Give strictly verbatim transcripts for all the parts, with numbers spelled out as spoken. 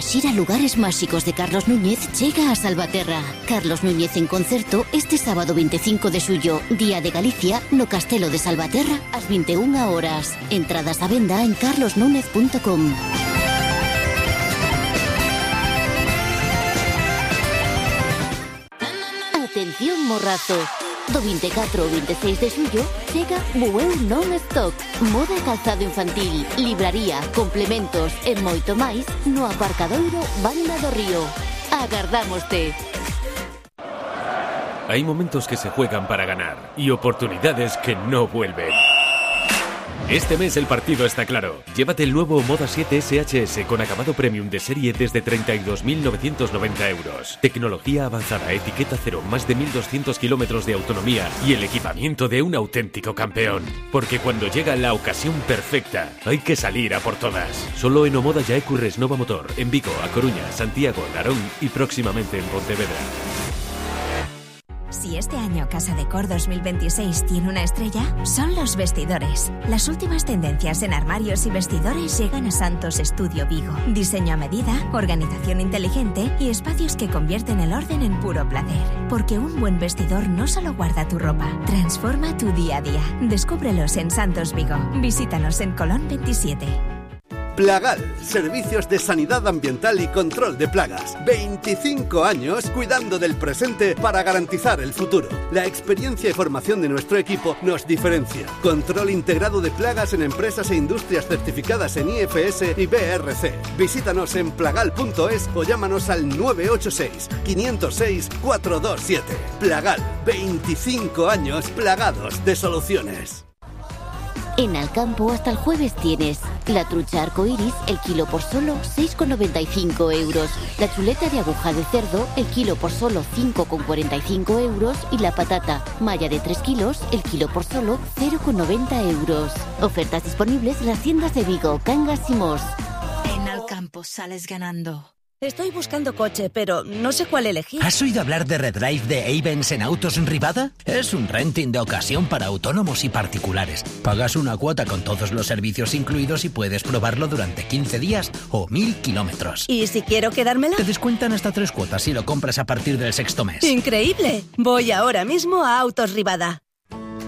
Xira Lugares Máxicos de Carlos Núñez chega a Salvaterra. Carlos Núñez en concerto este sábado veinticinco de xullo, Día de Galicia, no Castelo de Salvaterra, ás vinte e unha horas. Entradas á venda en carlos núñez punto com. Atención Morrazo. Do vinte e catro ao vinte e seis de xullo chega Bueu Non-Stop. Moda e calzado infantil, libraría, complementos e moito máis no aparcadoiro Banda do Río. Agardámoste. Hay momentos que se juegan para ganar y oportunidades que no vuelven. Este mes el partido está claro. Llévate el nuevo Moda siete S H S con acabado premium de serie desde treinta y dos mil novecientos noventa euros. Tecnología avanzada, etiqueta cero, más de mil doscientos kilómetros de autonomía y el equipamiento de un auténtico campeón. Porque cuando llega la ocasión perfecta, hay que salir a por todas. Solo en Omoda Yaecu Resnova Motor, en Vigo, A Coruña, Santiago, Narón y próximamente en Pontevedra. Si este año Casa Decor dos mil veintiséis tiene una estrella, son los vestidores. Las últimas tendencias en armarios y vestidores llegan a Santos Estudio Vigo. Diseño a medida, organización inteligente y espacios que convierten el orden en puro placer. Porque un buen vestidor no solo guarda tu ropa, transforma tu día a día. Descúbrelos en Santos Vigo. Visítanos en Colón veintisiete. Plagal, servicios de sanidad ambiental y control de plagas. veinticinco años cuidando del presente para garantizar el futuro. La experiencia y formación de nuestro equipo nos diferencia. Control integrado de plagas en empresas e industrias certificadas en I F S y B R C. Visítanos en plagal punto es o llámanos al nueve ocho seis, cinco cero seis, cuatro dos siete. Plagal, veinticinco años plagados de soluciones. En Alcampo hasta el jueves tienes la trucha arcoiris, el kilo por solo seis con noventa y cinco euros, la chuleta de aguja de cerdo, el kilo por solo cinco con cuarenta y cinco euros y la patata malla de tres kilos, el kilo por solo cero con noventa euros. Ofertas disponibles en las tiendas de Vigo, Cangas y Mos. En Alcampo sales ganando. Estoy buscando coche, pero no sé cuál elegir. ¿Has oído hablar de Redrive de Avens en Autos Rivada? Es un renting de ocasión para autónomos y particulares. Pagas una cuota con todos los servicios incluidos y puedes probarlo durante quince días o mil kilómetros. ¿Y si quiero quedármela? Te descuentan hasta tres cuotas si lo compras a partir del sexto mes. ¡Increíble! Voy ahora mismo a Autos Rivada.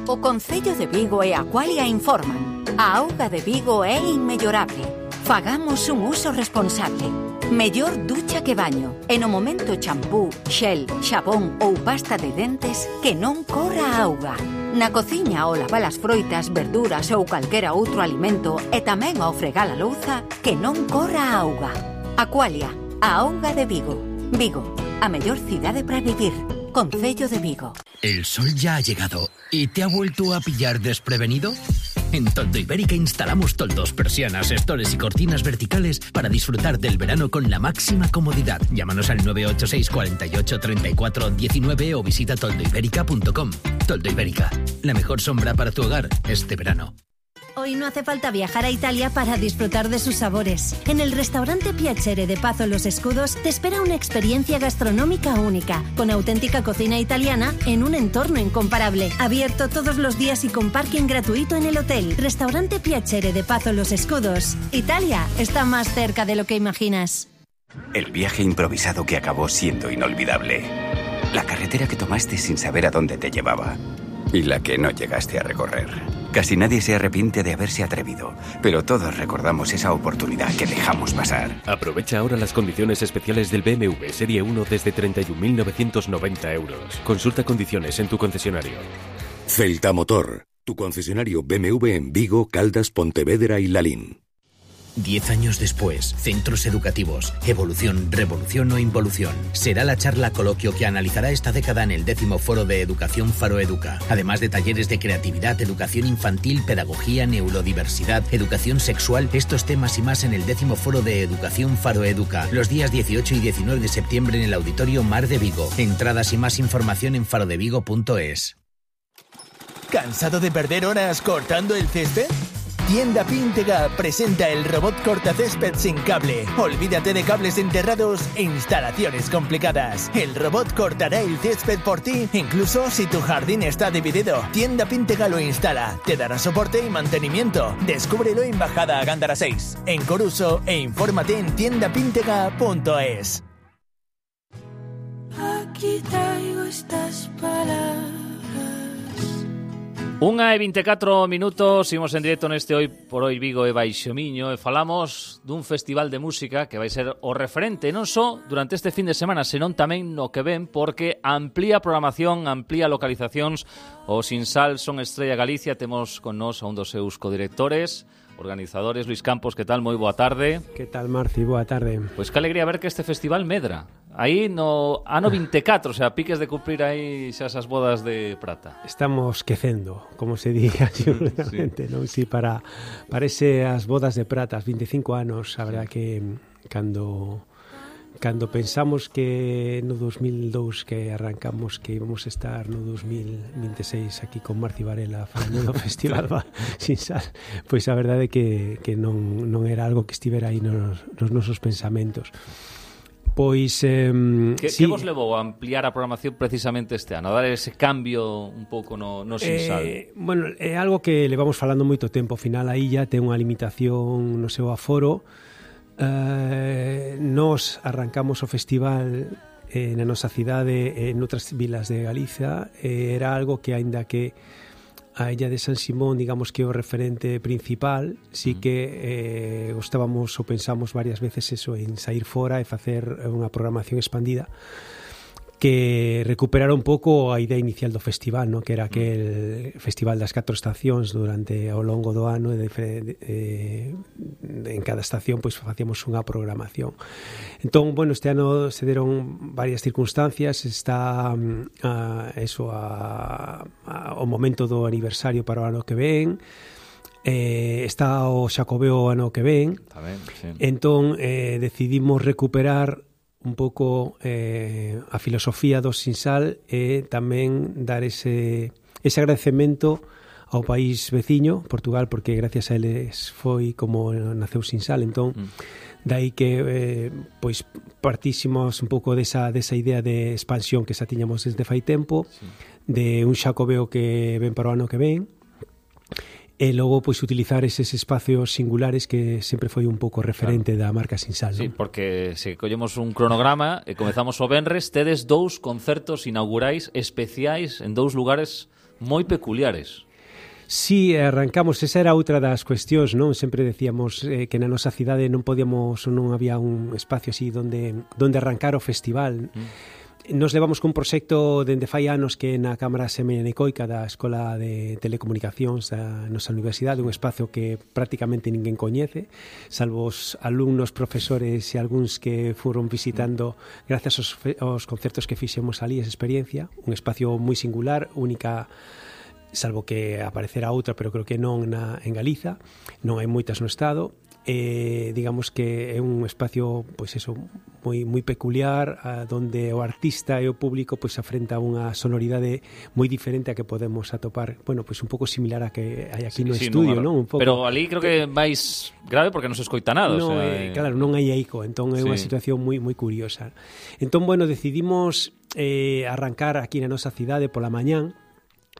O Concello de Vigo e Aqualia informan. A auga de Vigo é inmellorable. Fagamos un uso responsable. Mellor ducha que baño. E no momento champú, xel, xabón ou pasta de dentes que non corra a auga. Na cociña ao lavar as froitas, verduras ou calquera outro alimento e tamén ao fregar a louza que non corra a auga. Aqualia, a auga de Vigo. Vigo, a mellor cidade para vivir. Concello de Vigo. ¿El sol ya ha llegado y te ha vuelto a pillar desprevenido? En Toldo Ibérica instalamos toldos, persianas, estores y cortinas verticales para disfrutar del verano con la máxima comodidad. Llámanos al nueve ocho seis, cuarenta y ocho, treinta y cuatro, diecinueve o visita toldo ibérica punto com. Toldo Ibérica, la mejor sombra para tu hogar este verano. Hoy no hace falta viajar a Italia para disfrutar de sus sabores. En el restaurante Piacere de Pazo Los Escudos te espera una experiencia gastronómica única, con auténtica cocina italiana en un entorno incomparable. Abierto todos los días y con parking gratuito en el hotel. Restaurante Piacere de Pazo Los Escudos. Italia está más cerca de lo que imaginas. El viaje improvisado que acabó siendo inolvidable. La carretera que tomaste sin saber a dónde te llevaba. Y la que no llegaste a recorrer. Casi nadie se arrepiente de haberse atrevido, pero todos recordamos esa oportunidad que dejamos pasar. Aprovecha ahora las condiciones especiales del B M W Serie uno desde treinta y un mil novecientos noventa euros. Consulta condiciones en tu concesionario. Celta Motor, tu concesionario B M W en Vigo, Caldas, Pontevedra y Lalín. Diez años después, centros educativos, evolución, revolución o involución. Será la charla coloquio que analizará esta década en el décimo foro de Educación Faro Educa. Además de talleres de creatividad, educación infantil, pedagogía, neurodiversidad, educación sexual, estos temas y más en el décimo foro de Educación Faro Educa. Los días dieciocho y diecinueve de septiembre en el Auditorio Mar de Vigo. Entradas y más información en farodevigo punto es. ¿Cansado de perder horas cortando el césped? Tienda Píntega presenta el robot cortacésped sin cable. Olvídate de cables enterrados e instalaciones complicadas. El robot cortará el césped por ti, incluso si tu jardín está dividido. Tienda Píntega lo instala, te dará soporte y mantenimiento. Descúbrelo en Bajada a Gándara seis, en Coruso, e infórmate en tienda píntega punto es. Aquí traigo estas palabras. Unha e vinte e catro minutos, imos en directo neste Hoy por Hoy Vigo e Baixo Miño e falamos dun festival de música que vai ser o referente non só durante este fin de semana, senón tamén no que ven, porque amplía programación, amplía localizacións. O Sinsal Son Estrella Galicia, temos con nós a un dos seus codirectores, organizadores. Luis Campos, que tal? Moi boa tarde. Que tal, Marci? Boa tarde. Pois que alegría ver que este festival medra. Aí no ano vinte e catro, o sea, piques de cumprir aí xa esas bodas de prata. Estamos quecendo, como se diga seguramente, sí. Non? Sí, para, para ese as bodas de prata, as vinte e cinco anos, a verdad que cando... Cando pensamos que no dos mil dous que arrancamos que íbamos a estar no dos mil vinte e seis aquí con Marci Varela falando do Festival Sinsal, pois a verdade é que, que non, non era algo que estivera aí nos, nos nosos pensamentos. Pois eh, que, sí. que vos levou a ampliar a programación precisamente este ano, a dar ese cambio un pouco no, no Sinsal? Eh, bueno, é algo que levamos falando moito tempo. Ao final aí ya ten unha limitación no seu aforo. Uh, nos arrancamos o festival eh, na nosa cidade e en outras vilas de Galicia. Eh, era algo que, aínda que a illa de San Simón, digamos que é o referente principal, sí que eh, gostábamos ou pensamos varias veces eso, en sair fora e facer unha programación expandida que recuperara un pouco a idea inicial do festival, ¿no? Que era aquel festival das catro estacións durante ao longo do ano, e de, eh, en cada estación pois facíamos unha programación. Entón, bueno, este ano se deron varias circunstancias. Está a, eso a, a, o momento do aniversario para o ano que ven. Eh, está o Xacobeo o ano que ven. Tamén, sí. Entón eh, decidimos recuperar un pouco eh, a filosofía do Sinsal e tamén dar ese, ese agradecemento ao país veciño, Portugal, porque gracias a eles foi como naceu Sinsal. Entón, mm. dai que eh, pois partísimos un pouco desa, desa idea de expansión que xa tiñamos desde fai tempo, sí. de un Xacobeo que ven para o ano que ven, e logo pois utilizar eses espacios singulares que sempre foi un pouco referente claro. da marca Sinsal, non? Sí, porque se collemos un cronograma e comezamos o venres, tedes dous concertos inaugurais especiais en dous lugares moi peculiares. Sí, arrancamos, esa era outra das cuestións, non? Sempre decíamos eh, que na nosa cidade non podíamos ou non había un espacio así donde, donde arrancar o festival. Mm. Nos levamos cun proxecto dende fai anos que na Cámara Semenecoica da Escola de Telecomunicacións da nosa universidade, un espacio que prácticamente ninguén coñece, salvo os alumnos, profesores e algúns que foron visitando gracias aos, aos concertos que fixemos ali, esa experiencia, un espacio moi singular, única, salvo que aparecerá outra, pero creo que non na, en Galiza, non hai moitas no Estado. Eh, digamos que é un espacio pois eso, moi, moi peculiar, a, donde o artista e o público pois afrenta unha sonoridade moi diferente a que podemos atopar, bueno, pois un pouco similar a que hai aquí sí, no sí, estudio, non? Un pouco. Pero ali creo que máis grave porque non se escoita nada, no, o sea, eh, claro, non hai eco, entón é sí. unha situación moi moi curiosa. Entón, bueno, decidimos eh, arrancar aquí na nosa cidade pola mañán,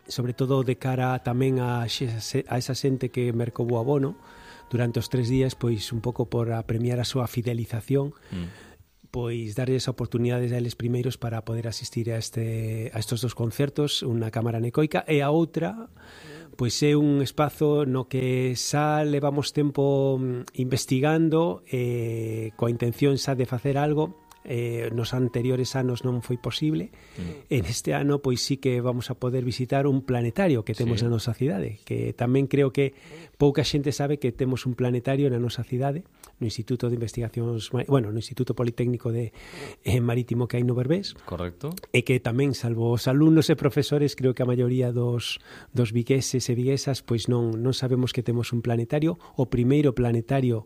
sobre todo de cara tamén a, a esa xente que mercou o abono durante os tres días, pois un pouco por a premiar a súa fidelización, mm. pois darles oportunidades a eles primeiros para poder asistir a este a estos dos concertos, unha cámara anecoica, e a outra pois é un espazo no que xa levamos tempo investigando eh, coa intención xa de facer algo. Eh, nos anteriores anos non foi posible. Mm. En este ano pois sí que vamos a poder visitar un planetario que temos sí. na nosa cidade, que tamén creo que pouca xente sabe que temos un planetario na nosa cidade, no Instituto de Investigacións, bueno, no Instituto Politécnico de eh, Marítimo que hai no Berbés. Correcto. E que tamén, salvo os alumnos e profesores, creo que a maioría dos, dos vigueses e viguesas pois non, non sabemos que temos un planetario, o primeiro planetario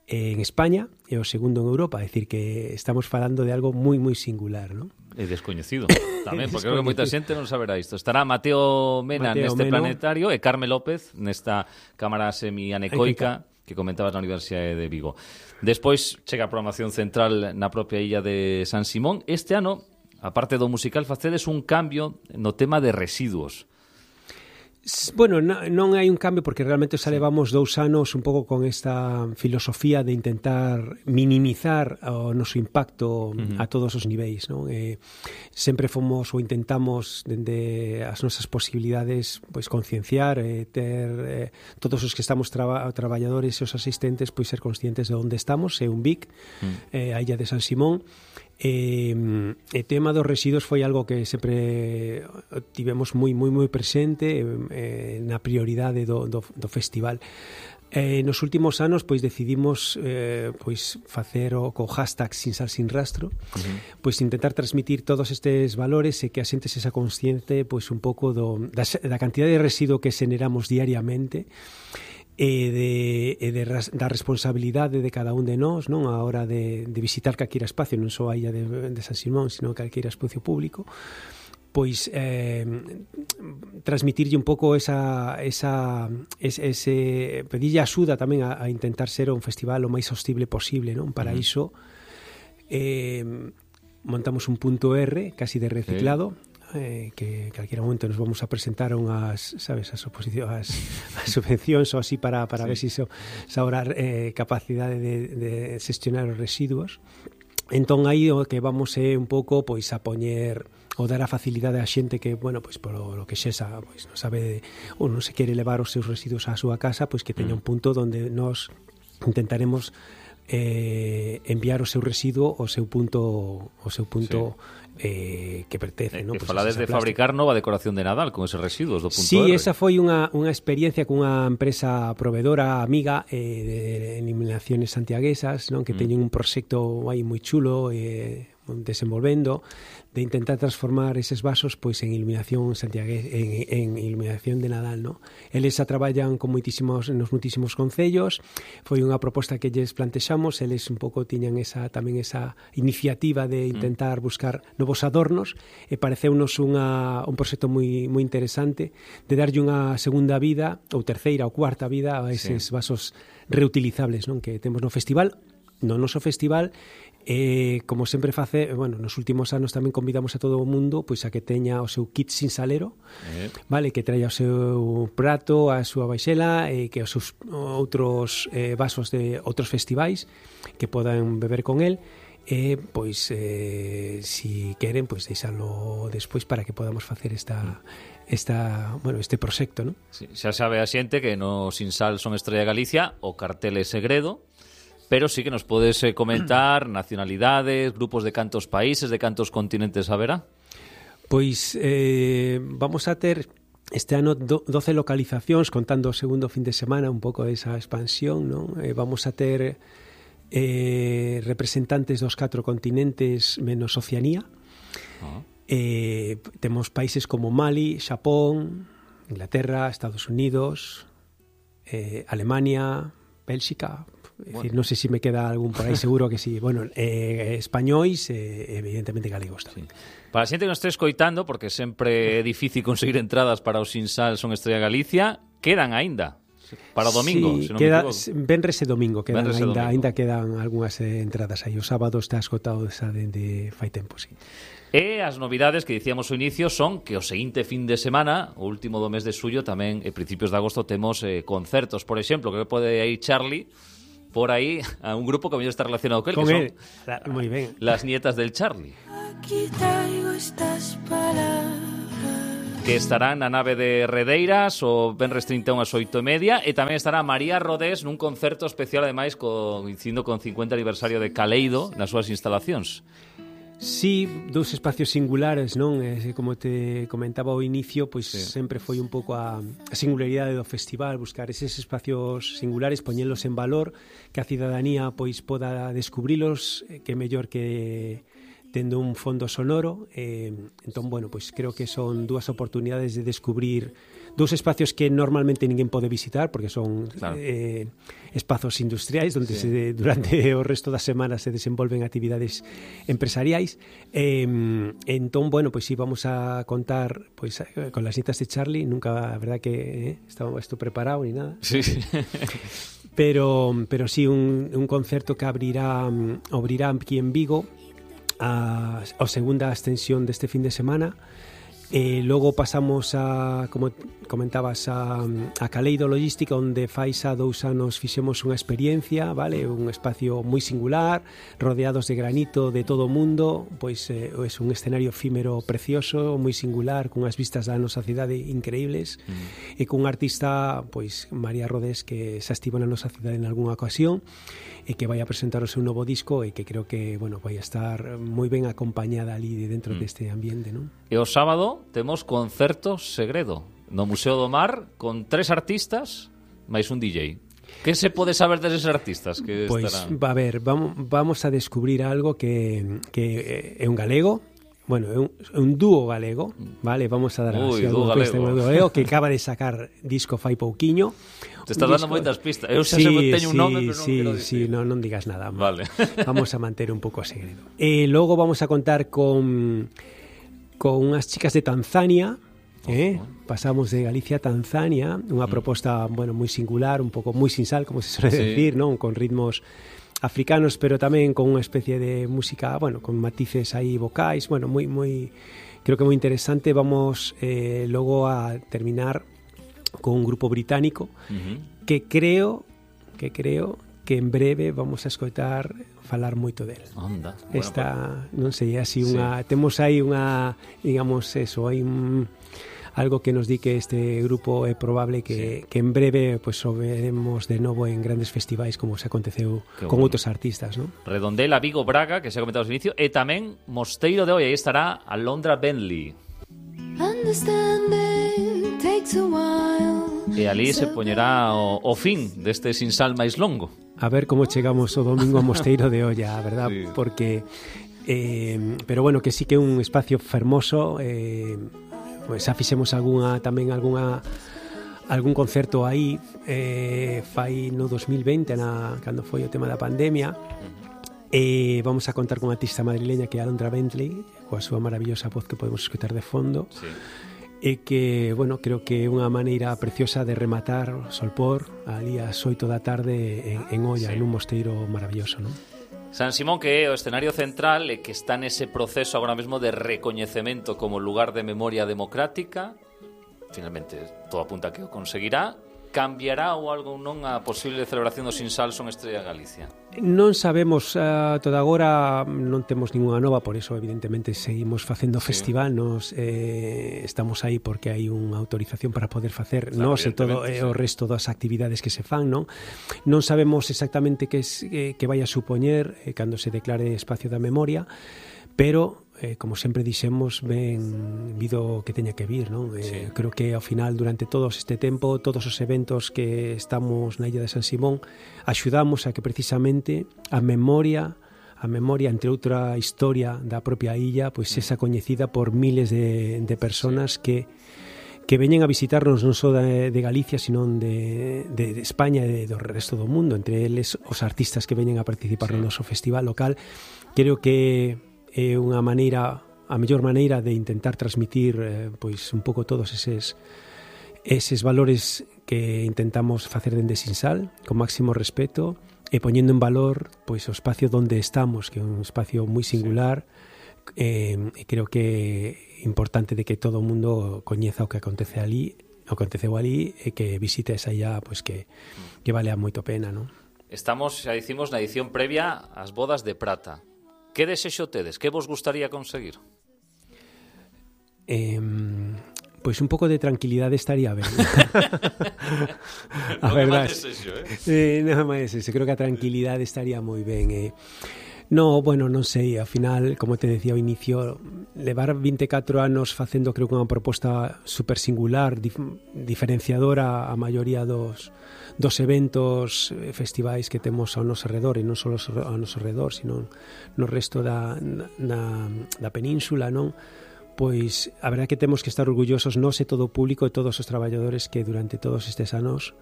en España e o segundo en Europa, é dicir que estamos falando de algo moi moi singular, non? É descoñecido tamén, porque creo que moita xente non saberá isto. Estará Mateo Mena Mateo neste Meno. Planetario e Carme López nesta cámara semianecoica que comentabas na Universidade de Vigo. Despois chega a programación central na propia illa de San Simón. Este ano, aparte do musical, facedes un cambio no tema de residuos. Bueno, non hai un cambio porque realmente xa levamos dous anos un pouco con esta filosofía de intentar minimizar o noso impacto uh-huh. a todos os niveis, non? Eh, sempre fomos ou intentamos dende as nosas posibilidades pois concienciar, eh, ter eh, todos os que estamos traba, traballadores e os asistentes pois ser conscientes de onde estamos, é un V I C, uh-huh. eh, a illa de San Simón. Eh, o tema dos residuos foi algo que sempre tivemos moi moi moi presente eh, na prioridade do, do, do festival. Eh, nos últimos anos pois decidimos eh, pois facer o co hashtag Sin Sal Sin Rastro, uh-huh. pois intentar transmitir todos estes valores e que a xente sexa consciente pois un pouco do, da, da cantidad de residuo que generamos diariamente e de, e de ras, da responsabilidade de cada un de nós, non, a hora de, de visitar calquera espacio, non só a illa de, de San Simón, sino calquera espacio público, pois eh, transmitirlle un pouco esa, esa ese, ese pedirlle axuda tamén a, a intentar ser un festival o máis sostible posible, non? Para uh-huh. iso eh, montamos un punto R casi de reciclado, sí. Eh, que calquera momento nos vamos a presentar a unhas, sabes, as oposicións, as subvencións ou así para, para sí. ver se si se habrá eh, capacidade de, de xestionar os residuos. Entón aí o que vamos é un pouco pois a poñer ou dar a facilidade a xente que, bueno, pois por lo que xesa, pois non sabe ou non se quere levar os seus residuos á súa casa, pois que teña un punto onde nós intentaremos eh, enviar o seu residuo ao seu punto ao seu punto sí. Eh, que pertence, non? Pues falades de fabricar nova decoración de Nadal con eses residuos do punto sí, R. esa foi unha, unha experiencia cunha empresa provedora amiga eh, de eliminaciones santiaguesas, non? Que mm. teñen un proxecto aí moi chulo eh, desenvolvendo de intentar transformar eses vasos pois en iluminación santiagués, en, en iluminación de Nadal, non? Eles a traballan con moitísimos nos moitísimos concellos. Foi unha proposta que lles plantexamos, eles un pouco tiñan esa tamén esa iniciativa de intentar mm. buscar novos adornos e pareceunos unha un proxecto moi moi interesante de darlle unha segunda vida ou terceira ou cuarta vida a eses sí. vasos reutilizables, non? Que temos no festival, no noso festival. Eh, como sempre face, bueno, nos últimos anos tamén convidamos a todo o mundo pois a que teña o seu kit sin salero, eh. vale, que traia o seu prato, a súa baixela e que os seus outros eh, vasos de outros festivais que podan beber con el. E pois eh, si queren pois deixalo despois para que podamos facer esta esta, bueno, este proxecto, ¿no? Sí, xa sabe a xente que no Sin Sal son Estrella Galicia, o cartel é segredo. Pero sí que nos podes eh, comentar nacionalidades, grupos de cantos países, de cantos continentes haberá? Pois eh, vamos a ter este ano do, doce localizacións, contando o segundo fin de semana, un pouco desa expansión, non? Eh, vamos a ter eh, representantes dos catro continentes menos Oceanía. Uh-huh. Eh, temos países como Mali, Xapón, Inglaterra, Estados Unidos, eh, Alemania, Bélxica. Bueno. Decir, non sei se me queda algún por aí, seguro que sí. Bueno, eh, españois e eh, evidentemente galegos tamén. Sí. Para a xente que nos este escoitando, porque sempre é difícil conseguir entradas para o Sin Sal son Estrella Galicia, quedan aínda para o domingo, sí, se non queda, me equivoco. Venres e domingo quedan Venres aínda, domingo. aínda quedan algunhas eh, entradas aí. O sábado está esgotado esa dende fai tempo, sí. E as novidades que dicíamos ao inicio son que o seguinte fin de semana, o último do mes de suyo, tamén e principios de agosto temos eh, concertos, por exemplo, que pode ir Charlie por aí a un grupo que mellor está relacionado con él, con que él. son La, muy bien. Las Nietas del Charlie. Aquí traigo estas palabras. Que estarán na nave de Redeiras o venres trinta e un ás oito e media, e tamén estará María Rodés nun concerto especial, ademais, coincidindo con cincuenta aniversario de Caleido nas súas instalacións. Sí, dous espacios singulares, non? Eh, como te comentaba ao inicio, pois sí. sempre foi un pouco a, a singularidade do festival, buscar eses espacios singulares, poñelos en valor, que a cidadanía pois poda descubrilos, que mellor que tendo un fondo sonoro, eh, entón, bueno, pois creo que son dúas oportunidades de descubrir dous espacios que normalmente ninguén pode visitar porque son claro. eh, espazos industriais onde sí. se, durante o resto da semana se desenvolven actividades empresariais. Eh, entón, bueno, pois sí, vamos a contar pois con las nietas de Charlie, nunca, a verdad que eh, estaba esto preparado ni nada. Sí, sí. Pero, pero sí, un, un concerto que abrirá, abrirá aquí en Vigo a, a segunda extensión deste fin de semana. E logo pasamos a, como comentabas, a, a Caleido Logística, onde fai xa dous anos fixemos unha experiencia, vale, un espacio moi singular, rodeados de granito de todo o mundo, pois é eh, un escenario efímero precioso, moi singular, con as vistas da nosa cidade increíbles, mm. e cun artista, pois María Rodés, que xa estivo na nosa cidade en algunha ocasión, e que vai a presentar o seu novo disco e que creo que, bueno, vai a estar moi ben acompañada ali dentro mm. deste ambiente, non? E o sábado temos concerto segredo no Museo do Mar con tres artistas máis un D J. Que se pode saber deses artistas que pois, estarán? Pois, a ver, vamos, vamos a descubrir algo que, que é un galego. Bueno, é un, un dúo galego, vale? Vamos a dar Ui, así dúo galego. Este galego que acaba de sacar disco fai pouquiño. Te estás dando moitas pistas. Eu xa sí, teño un nome, pero non sí, quero dicir. Sí, non, non digas nada. Vale. Vamos a manter un pouco o segredo. E logo vamos a contar con con unhas chicas de Tanzania, eh? Pasamos de Galicia a Tanzania, unha proposta, bueno, moi singular, un pouco moi sin sal, como se suele sí. decir, non? Con ritmos africanos, pero tamén con unha especie de música, bueno, con matices aí vocais, bueno, moi moi creo que moi interesante. Vamos eh, logo a terminar con un grupo británico uh-huh. que creo que creo que en breve vamos a escoitar falar moito del. Onda. Esta, bueno, non sei, así sí. unha temos aí unha, digamos eso, hai un algo que nos di que este grupo é probable que, sí. que en breve pues, o veremos de novo en grandes festivais como se aconteceu que con bueno. outros artistas, ¿no? Redondela, Vigo, Braga, que se ha comentado ao inicio, e tamén Mosteiro de Hoy, aí estará Alondra Bentley. E ali se poñerá o, o fin deste sinsal máis longo. A ver como chegamos o domingo a Mosteiro de Olla, verdad? Sí. Porque eh, pero bueno, que sí que é un espacio fermoso, eh, pues xa fixemos algunha tamén algunha algún concerto aí eh, fai no dos mil veinte na, cando foi o tema da pandemia. E vamos a contar con unha artista madrileña que é Alondra Bentley, coa súa maravillosa voz que podemos escutar de fondo. Sí. E que, bueno, creo que é unha maneira preciosa de rematar o solpor ali ás oito da tarde en, en Olla, sí. en un mosteiro maravilloso, non? San Simón, que é o escenario central e que está nese proceso agora mesmo de recoñecemento como lugar de memoria democrática, finalmente todo apunta que o conseguirá. Cambiará ou algo non a posible celebración do Sinsal Son Estrella Galicia? Non sabemos, uh, toda agora non temos ninguna nova, por eso evidentemente seguimos facendo sí. festival, nos eh, estamos aí porque hai unha autorización para poder facer claro, nos e todo eh, sí. o resto das actividades que se fan, non? Non sabemos exactamente que, es, eh, que vai a supoñer eh, cando se declare espacio da memoria, pero eh, como sempre dixemos, ben vido que teña que vir, non? Eh, sí. Creo que ao final, durante todo este tempo, todos os eventos que estamos na illa de San Simón, axudamos a que precisamente a memoria, a memoria, entre outra historia da propia illa, pois pues, esa coñecida por miles de, de personas sí. que que veñen a visitarnos non só de, de Galicia, sino de, de, de España e do resto do mundo, entre eles os artistas que veñen a participar sí. no noso festival local. Creo que é unha maneira, a mellor maneira de intentar transmitir eh, pois un pouco todos eses eses valores que intentamos facer dende Sinsal, con máximo respeto e poñendo en valor pois o espacio onde estamos, que é un espacio moi singular. Sí. Eh, creo que é importante de que todo o mundo coñeza o que acontece ali, o que aconteceu ali e que visite esa illa, pois que que vale a moito pena, non? Estamos, xa dicimos, na edición previa ás bodas de prata. Que desexo tedes? Que vos gustaría conseguir? Eh, pois un pouco de tranquilidade estaría ben. A non verdade. É máis desexo, eh? eh, non é máis desexo. Creo que a tranquilidade estaría moi ben. Eh. No, bueno, non sei, ao final, como te decía ao inicio, levar vinte e catro anos facendo, creo que unha proposta super singular, dif diferenciadora a maioría dos, dos eventos, festivais que temos ao noso redor, e non só ao noso redor, sino no resto da, na, da península, non? Pois a verdade que temos que estar orgullosos nós e todo o público e todos os traballadores que durante todos estes anos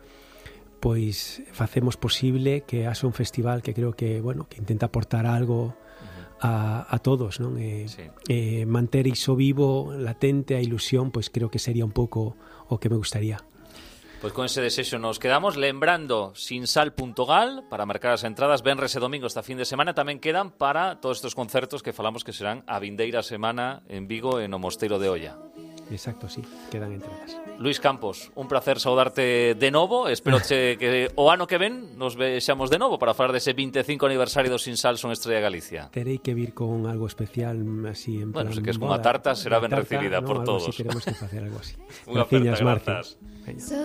pois facemos posible que haxa un festival que creo que, bueno, que intenta aportar algo a, a todos, non? E, sí. e manter iso vivo, latente, a ilusión, pois creo que sería un pouco o que me gustaría. Pois con ese desexo nos quedamos, lembrando sinsal punto gal para marcar as entradas, venres e domingo esta fin de semana, tamén quedan para todos estes concertos que falamos que serán a vindeira semana en Vigo e no Mosteiro de Oia. Exacto, sí, quedan entradas. Luís Campos, un placer saudarte de novo. Espero che que o ano que ven nos vexamos de novo para falar dese vinte e cinco aniversario do Sinsal Son Estrella Galicia. Terei que vir con algo especial así en plan. Bueno, se que es como a tarta será ben recibida no, por todos. Así, queremos que facer algo así. Unha aperta, grazas.